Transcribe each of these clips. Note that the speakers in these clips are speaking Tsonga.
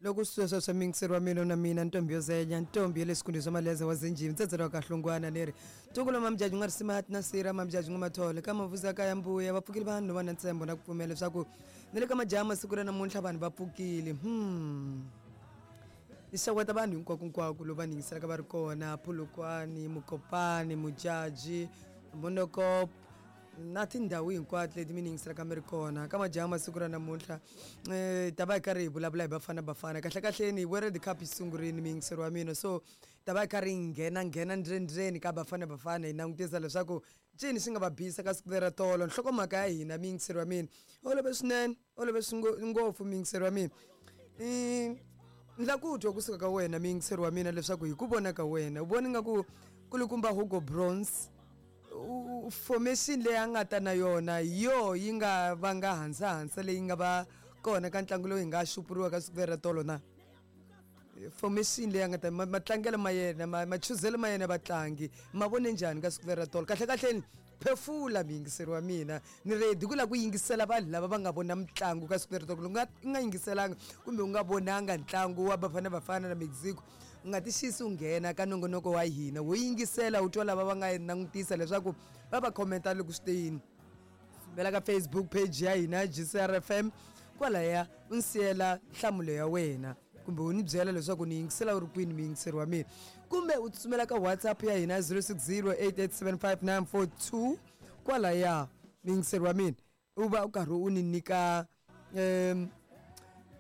Loko sweswo swa miyingiseri wa mina na mina ntombi yo zenya ntombi ya le swikhundleni swa maleze wa zinjini ntsedzela wa kahlungwana ni ri ntuku lowu mamjaji nga ri simati na sira mamjaji nga mathole ka mavuza ka ya mbuya va pfukile vanhu va na ntshembo na ku pfumela leswaku ni le ka majaha masiku ra namuntlha vanhu va pfukile. Ni xeweta vanhu hinkwakunkwako lowu va ni yingiselaka va ri kona Polokwane, Mokopane, Modjadji, Monokop na tindhawu hinkwato leti mi ni yingiselaka mi ri kona. Ka majaha masiku ra namuntlha hi ta va hi karhi hi vulavula hi Bafana Bafana. Kahlekahleni World Cup yi sungurile muyingiseri wa mina so hi ta va hi karhi hi nghena nghena ndzeni ka Bafana Bafana hi langutisa leswaku ncini xi nga va bisa ka siku lera tolo. Nhlokomhaka ya hina muyingiseri wa mina olove swinene olove ngopfu muyingiseri wa mina. Ni lava ku twa kusuka ka wena muyingiseri wa mina leswaku hi ku vona ka wena u vona ingaku kulukumba Hugo Broos formation leyi a nga ta na yona hi yoho yi nga vanga hansahansa leyi nga va kona ka ntlangu lowu hi nga xupuriwa ka siku leri ra tolo na? Formation leyi a nga ta matlangelo ma yena machuzelo ma yena vatlangi ma vone njhani ka siku leri ra tolo? Kahlekahleni phefula muyingiseri wa mina ni ready ku lava ku yingisela vanhu lava va nga vona mitlangu ka siku leri tolo. U nga u nga yingiselanga kumbe u nga vonanga ntlangu wa Bafana Bafana na Mexico u nga ti xisi u nghena ka nongonoko wa hina wo yingisela u twa lava va nga langutisa leswaku va va commenta loko swi te yini. Sumbela ka Facebook page ya hina GCR FM kwalaya u ni siyela nhlamulo ya wena kumbe u ni byela leswaku ni yingisela u ri kwini muyingiseri wa mina kumbe u tsutsumela ka WhatsApp ya hina 0608875942 kwalaya muyingiseri wa mina u va u karhi u ni nyika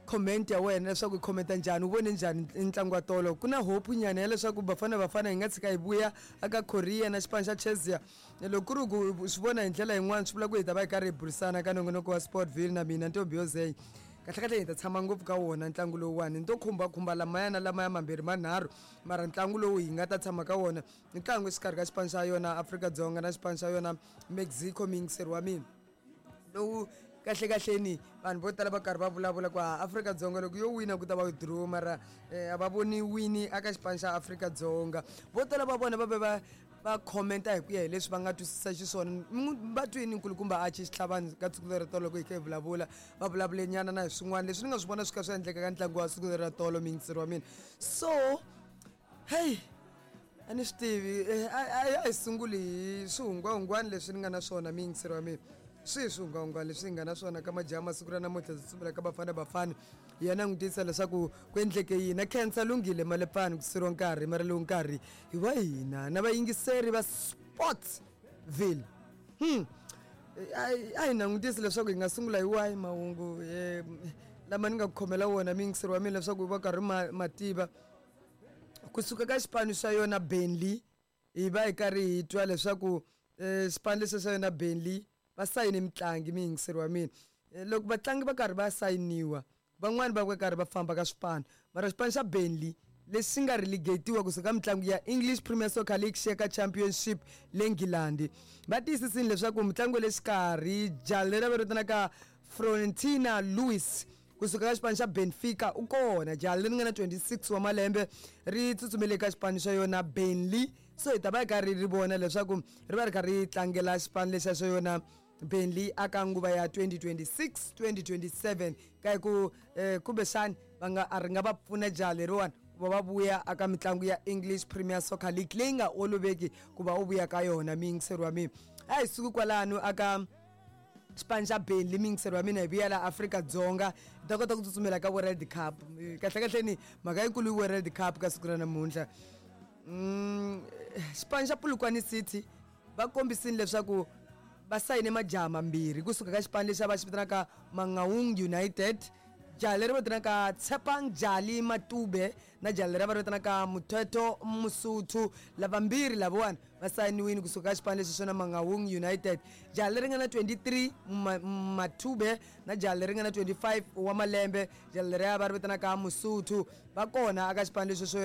comment ya wena leswaku u commenta njhani u vone njhani ntlangu wa tolo. Ku na hope nyana ya leswaku Bafana Bafana yi nga tshika yi vuya aka Korea na xipano xa Chelsea. Loko ku ri ku swi vona hi ndlela yin'wana swi vula ku hi ta va hi karhi hi burisana ka nongonoko wa Sportville na mina ntombi yo zenya. Kahlekahle hi ta tshama ngopfu ka wona ntlangu lowuwani ni to khumbakhumba lamaya na lamaya mambirhi manharhu mara ntlangu lowu hi nga ta tshama ka wona i ntlangu exikarhi ka xipano xa yona Afrika-Dzonga na xipano xa yona Mexico muyingiseri wa mina lowu kahlekahleni vanhu vo tala va karhi va vulavula ku Afrika-Dzonga loko yo wina ku ta va draw mara a va voni wini aka xipano xa Afrika-Dzonga. Vo tala va vona va ve va va commenta hi ku ya hi leswi va nga twisisa xiswona. Va twini nkulukumba Archie Xitlhavani ka siku leri tolo loko hi kha hi vulavula va vulavule nyana na hi swin'wana leswi ni nga swi vona swi kha swi endleka ka ntlangu wa siku leri ra tolo muyingiseri wa mina. So hey a ni swi tivi a hi sunguli hi swihungwahungwani leswi ni nga na swona muyingiseri wa mina. Swihi swihungwahungwani leswi hi nga na swona ka majaha masiku ra namuntlha ndzi tsutsumela ka Bafana Bafana hi ya langutisa leswaku ku endleke yini. Khensa Lunghile Malepfani ku siriwa nkarhi mara lowu nkarhi hi wa hina na vayingiseri va Sportsville. A hi langutisi leswaku hi nga sungula hi wahi mahungu lama ni nga ku khomela wona muyingiseri wa mina leswaku va karhi ma tiva. Kusuka ka xipano xa yona Burnley hi va hi karhi hi twa leswaku xipano lexi xa yona Burnley va sayine mutlangi muyingiseri wa mina. Loko vatlangi va karhi va sayiniwa van'wani va va karhi va famba ka swipano mara xipano xa Burnley lexi nga relegatiwa kusuka ka mitlangu ya English Premier Soccer League xi ya ka Championship le Nghilandhi va tiyisisile leswaku mutlangi wa le xikarhi jaha leri va vitanaka Florentina Luis kusuka ka xipano xa Benfica u kona. Jaha leri nga na 26 wa malembe ri tsutsumele ka xipano xa yona Burnley so hi ta va hi karhi ri vona leswaku ri va ri kha ri tlangela xipano lexa xa yona Burnley aka nguva ya 2026 2027 ka ku kumbexani va nga a ri nga va pfuna jaha leriwani ku va va vuya aka mitlangu ya English Premier Soccer League leyi nga oloveki ku va u vuya ka yona muyingiseri wa mina. A hi suki kwalano aka xipano xa Burnley muyingiseri wa mina hi vuya la Afrika-Dzonga hi ta kota ku tsutsumela ka World Cup. Kahlekahleni mhaka yikulu i World Cup ka siku ra namuntlha. Xipano xa Polokwane City va kombisile leswaku va sayine majaha mambirhi kusuka ka xipano lexi a va xi vitanaka Mangaung United. Jaha leri va vitanaka Tshepang Jali Matube na jaha leri va ri vitanaka Muthetho Musuthu. Lavambirhi lavawani va sayiniwile kusuka ka xipano lexi xona Mangaung United. Jaha leri nga na 23 Matube na jaha leri nga na 25 wa malembe jaha leriya va ri vitanaka Musuthu va kona aka xipano lexi xo.